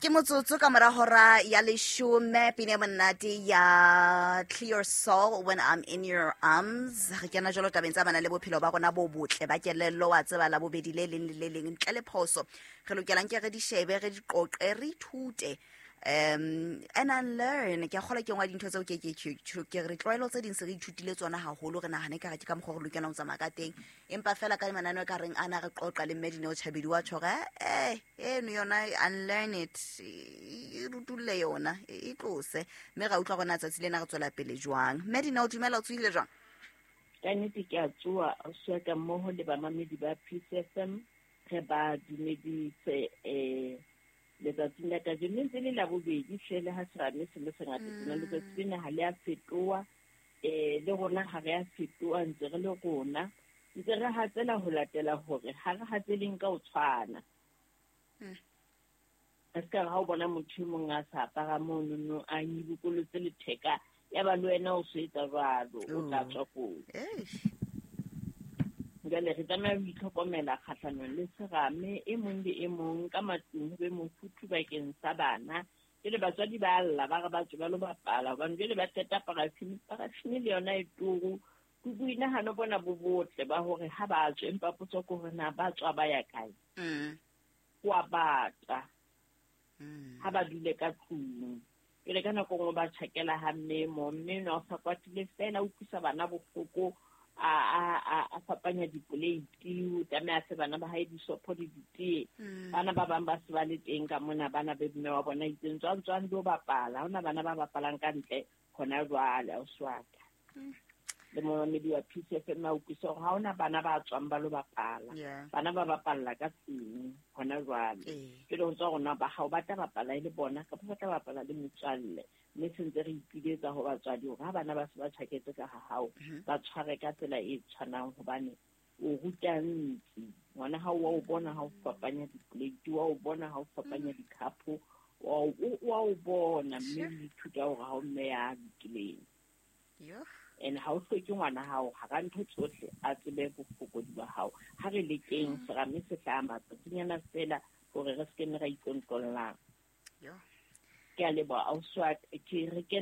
Ke motsotso ka mora hora ya leshome, pina e monate ya Clear Soul, "When I'm in Your Arms". Re kena jalo tabeng tsa bana le bophelo ba rona bo botle ba kelello. Wa tseba, la bobedi le leng le le leng ntle le phoso re lokelang ke re di shebe, re di qoqe, re ithute and unlearn. Ke a kgolwa ke nngwe ya dintho tseo ke re tlwaelo tse ding se re ithutile tsona haholo, re nahane ka re ke ka mokgwa re lokelang ho tsamaya ka teng, empa fela ka mananeo ka reng ana re qoqa le mme Dineo Chabedi wa tjho hore eno yona, unlearn it, e rutulle yona, e tlose, mme ra utlwa rona tsatsi lena re tswela pele jwang. Mme Dineo, dumela, o tsohile jwang? Ka nnete ke a tsoa, ausi ka mmoho le bamamedi ba Peace FM. Re ba dumedise letsatsing la kajeno. Ntse le Labobedi hle, le ha serame se le sengata tjena, letsatsi lena ha le a fetoha, le rona ha re a fetoha, ntse re le rona, ntse re hatsela ho latela hore ha re hatseleng ka ho tshwana. Re se ka re ha o bona motho e mong a sa apara monono, a nyibokolotse letheka, ya ba le wena o so etsa jwalo, o tla tswa kotsi. Jwale re tlameha ho itlhokomela kgahlanong le serame. E mong le e mong ka matlung ho be mofuthu bakeng sa bana. Jwale batswadi ba lla, ba re ba tswe ba lo bapala, hobane jwale ba qeta parafini. Parafini le yona e turu. Ke boinahano bona bo botle ba hore ha ba tswe, empa potso ke hore na ba tswa ba ya kae? Ho a bata. Ha ba dule ka tlung. Jwale ka nako nngwe ba tjhakela ha mme mo, mme enwa o sa kwatile fela, o utlwisa bana bohloko, a fapanya dipoleiti, o tlameha a fe bana ba hae disopho le ditee. Bana ba bang ba se ba le teng ka mona, bana be mme wa bona itseng tswang, tswang lo bapala. Ha hona bana ba bapalang ka ntle hona jwale, ausi wa ka. Le momamedi wa Peace FM a utlwisa hore ha hona bana ba tswang ba lo bapala. Bana ba bapalla ka tlung hona jwale. Jwale ho tswa rona ba hao ba tla bapala e le bona kapa ba tla bapala le metswalle. Mme se ntse re ipiletsa ho batswadi hore ha bana ba se ba tjhaketse ka ha hao, ba tshware ka tsela e tshwanang, hobane o ruta ntsi. Ngwana hao wa o bona ha o fapanya dipoleiti, wa o bona ha o fapanya dikhapo, wa o bona, mme o ithuta hore ha o mme ya lokileng. And ha o hloke ngwana hao hara ntho tsohle a tsebe bofokodi ba hao. Ha re lekeng serame se hlaha matsatsinyana fela hore re se ke nne ra itlontlollang. Ke a leboha, ausi wa ka. Ke re ke